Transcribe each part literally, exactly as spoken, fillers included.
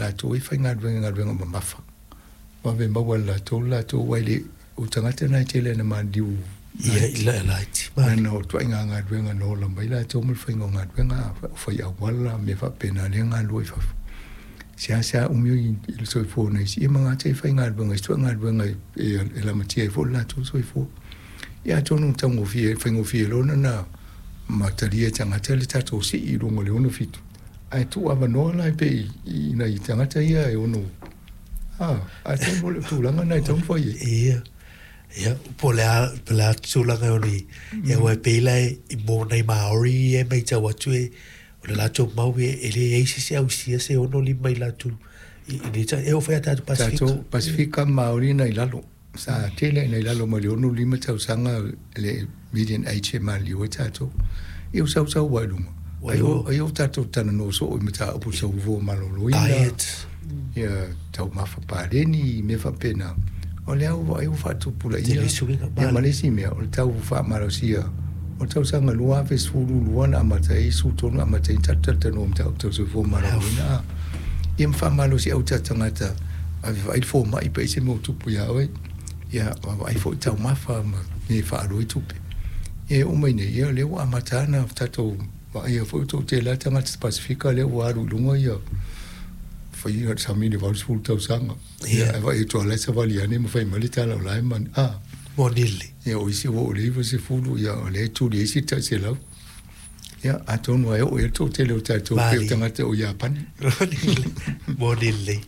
latou e faigaluega i galuega mamafa, vave maua e le latou le latou aua e le o tagata na e tele ina maliliu Ia i la laiti. Ona o ituaiga galuega na ola mai latou ma le faiga o galuega, o fai auala, mea faapena lea e galulue i fafo. Seasea umi i le soifua o nai isi, ia ma gata ai faigaluega i isi galuega e lamatia ai foi le latou soifua. Ia atonu e taugofie, faigofie loa ona talia e tagata le tatou sii i luga o le ono fitu, ae tuu avanoa la pei i nai tagata ia e ono, a, atonu o le tulaga lena e tatau ona fai ai. Ia, ia, po o le a, po o le a tulaga e ono i ai, aua e pei la i mo nai Maori ia e matau atu e o le latou mau e, e leai se isi ausia se ono lima i latou i, i nei e oo foi ia tatou Pasefika. Tatou Pasefika ma Maori na i lalo. Sa tele ina i lalo mai le ono lima tausaga le median age e maliliu ai tatou. Ia ua sausau ai i luga. Ai o, ai o tatou talanoa soo i mataupu soifua maloloina. Diet. Ia taumafa paleni, mea faapena. O lea ua vaai ua faatupulaia. Tele suiga. Ia ma le isi mea, o le tau faamalosia o le tausaga lua afe sefulu lua na amata ai sefulu tolu na amata ai ona tatou talatalanoa i mataupu tau soifua maloloina. Ia ma faamalosiau o tatou tagata, ave vaai le fomai pe ai se mea ua tupu ia oe. Ia vaavaai foi taumafa ma mea e faaalu ai tupe. Ia e oo mai nei, ia o lea ua amata ona tatou vaaia foi ua toatele lava tagata Pasefika lea ua alu i luga ia fai sami le valusefulu tausaga. Ia ae vaai atu lava la e savali ane ma fai mai le tala o la e manu. A, Moni lelei. Ia o isi ua oo i le iva sefulu, ia o lea e tuli ai isi tai selau. Ia atonu e oo i ai le toatele o tatou pei o tagata o Iapani. Moni lelei.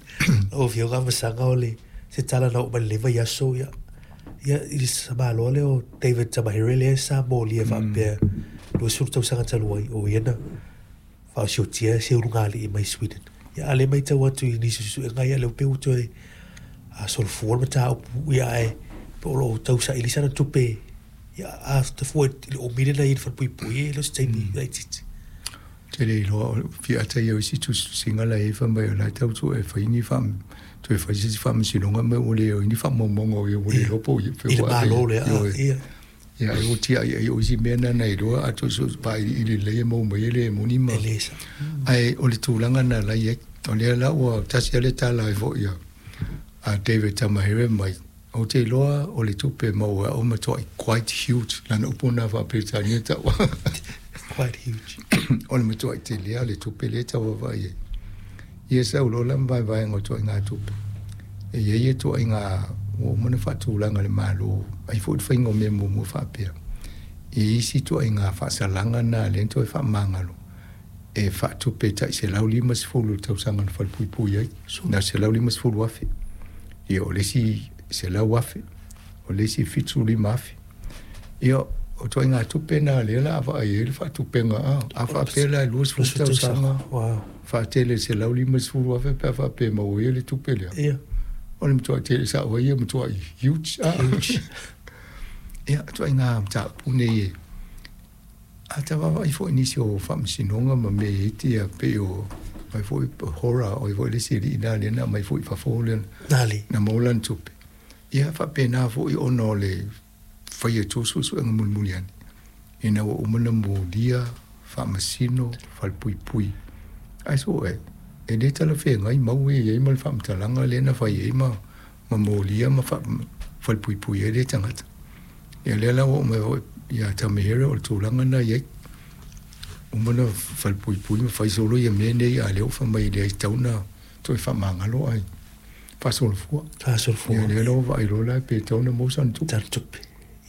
Lau Afioga Masaga o le se tala na oo mai lenei vaiaso ia ia i le samaloa lea o David Tamahere lea sa molia faapea luasefulu tausaga talu ai o ia na faaosiotia se ulugalii mai Sweden. Ia a lea matau atu i nisi o suesuega ia lea ua pei ua toe solofua le mataupu ia ae pe o loo tausaili sana tupe ia a tafua i le umi lena i le falepuipui e le o se taimi laitiiti. Te le iloa o fiata ia o isi tusitusiga la e i ai fai mai o la e tau sue e fai ni faa toe fai se isi faamasinoga ma ua le o ai ni faamaumauga o ia ua le iloa po o ia I le Malo lea ia. Ia ai ua tiai ai o isi mea na na iloa a toe vailiili lelei e maua mai ai le moni ma E le sa. Ae o le tulaga na la i ai o lea la ua tasi lava le tala ai foi a a David Tamahere mai ou te iloa o le tupe maua e au matuai quite huge lana upu lena faa-Peretania tau. Quite huge. O le matuai telea o le tupe lea e tau vaavaai ai. Ia sau loa la ma vaevaega o ituaiga tupe. E i ai ituaiga ua uma ona faatulaga e le Malo, ai foi le faiga o mea muamua faapea. E i ai isi ituaiga faasalaga na lea na toe faamagalo e faatupe tai selau lima sefulu i le tausaga na falepuipui ai, na o le selau lima sefulu afe. Ia o le isi selau afe, o le isi fitu lima afe. Ia o ituaiga tupe na lea o le a vaai ai le faatupega a. A faapea la e luasefulu tausaga Wow. faatele i le selau lima sefulu afe pe a faapea e maua ai le tupe lea. Ia. O le matuai tele sao ai ia matuai huge a. Huge. Ia ituaiga mataupu nei e a ta vaavaai foi i nisi o faamasinoga ma mea e i ai tia pei o mai foi Hora o ai foi le isi alii na lea na aumai foi i fafo lea Nali. na maua lana tupe. Ia faapena foi ona o le fai atu o suesuega mulimuli ane ina ua uma ona molia faamasino falepuipui ae sue e le talafeagai mau e i ai ma le faamatalaga lea na fai ai ma ma molia ma falepuipui ai lea tagata. Ia lea la ua oo mai foi ia Tamahere o le tulaga na i ai. Uma ona falepuipui ma fai solo ia mea nei a o lea ua fai mai e leai tatau ona toe faamagalo ae faasolofua. Faasolofua. Ia lea la ua vaai loa la pe tatau ona maua sana tupe. Sana tupe.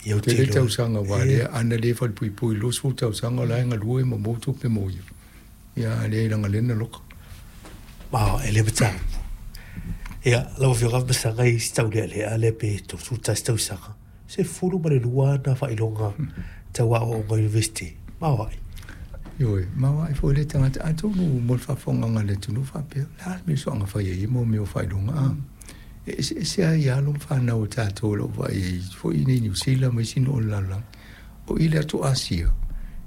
Ia ou te Tele iloa. tausaga aua lea ana le falepuipui i le luasefulu tausaga o la e galue ma maua tupe mo ia. Ia a leai leaga o lea na loka. Ma e le mataupu. Ia, lau Afioga Masaga i si taulealea lea pe tolusefulu tasi tausaga, sefulu ma le lua ana faailoga tau aoaoga University. Maoae. Ioe, maoae foi lea tagata atonu mo le faafofogaaga a le atunuu faapea, o le a le mea soaga fai ai mo mea o faailoga a. E eseese lava i alo ma fanau a tatou o lo o vaai ai foi i inei i Niu Sila ma isi nuu o le lalolagi. O i le atu Asia,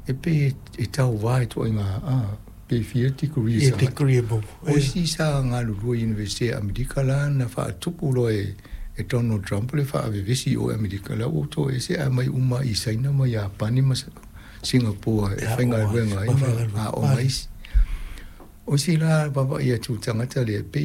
e pei e tauva i ituaiga a, pe fia degree Ia e tagata. degree e maua. O isi sa galulue i Universite a Amerika la na faatupu loa e e Donald Trump le faavevesi i o i Amerika, la ua toese ae aumai uma i Saina ma Iapani ma Singapore e faigaluega ai ma aoga isi. O isi la vaavaai atu i le tagata lea, pei